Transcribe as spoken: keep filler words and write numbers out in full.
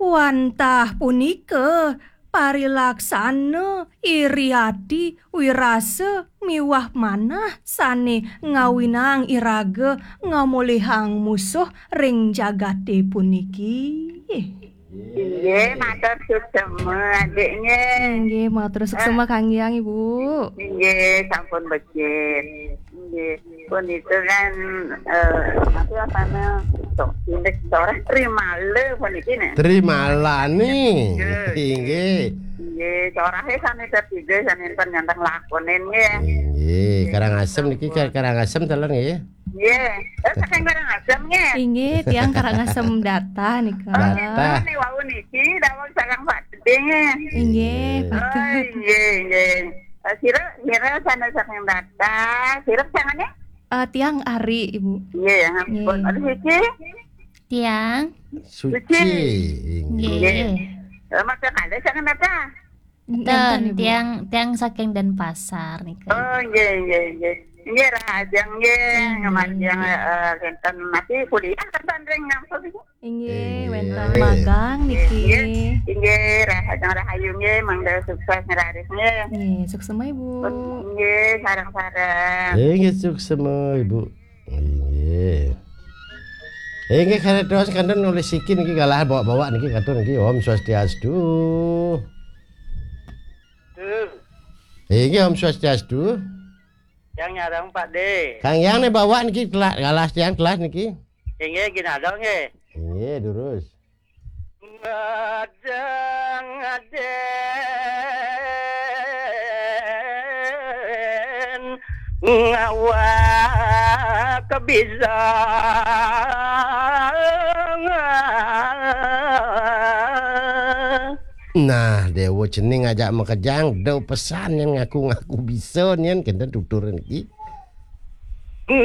Wantah punika parilaksana, iri ati, wirasa miwah manah sane ngawinang iraga ngamolihang musuh ring jagate puniki. Inggih, matur suksema, Adik, nggih. Inggih, matur suksema, kanggiang, Ibu. Inggih, sampun becik. Inggih. Pun itu kan, eh, apa, apa, nah, so-, indik sorah Trimala pun iki, nah. Trimalani. Inggih. Inggih. Inggih, sorahe sami tetiga, sami pun nyontang lakonin, nggih. Inggih, Karangasem niki, Kar-, Karangasem telan, nggih. Nggih. Eh, saking Karangasem, nggih. Inggih, tiang Karangasem Data nika. Oh, Data. Nika nih, wau niki, dawuh sareng Pak Gede, nggih. Inggih, Inggih. Pak. Oh, inggih, inggih. Eh, sira, sira sana saking Data, sira sangane? Eh, tiang Ari, Ibu. Nggih, ya, ampun. Nggih. Aduh, iki. Tiang. Suci. Suci. Inggih. Nggih. Eh, maka kali saking Data? Ten, Nenten, Ibu. Tiang, tiang saking Denpasar nika. Oh, nggih, nggih, nggih. Nggih, rahajeng, nggih. Nggih. Ngamargiang, eh, kinten mati kuliah kan ring ngampun iki. Inggih, Inggih. Wenten magang niki. Inggih, inggih, rahajeng rahayu, nggih, mangda sukses ngraris, nggih. Nggih, suksema, Ibu. Nggih, sareng-sareng. Inggih, suksema, Ibu. Inggih. Inggih, kados kantun nulis siki niki galah bawa-bawa niki kantun niki. Om Swastiastu. Tuh. Inggih, Om Swastiastu. Yang nyarang, Pak De. Kang Yang nih bawa niki telah, galah tiang telah niki. Inggih, gini ada, nggih. Inggih, durus. Ngadang aden ngawa kebisa. Nah, Dewa Cening ajak makejang, da pesan nyen ngaku-ngaku bisa nyen, kenten tuturan iki.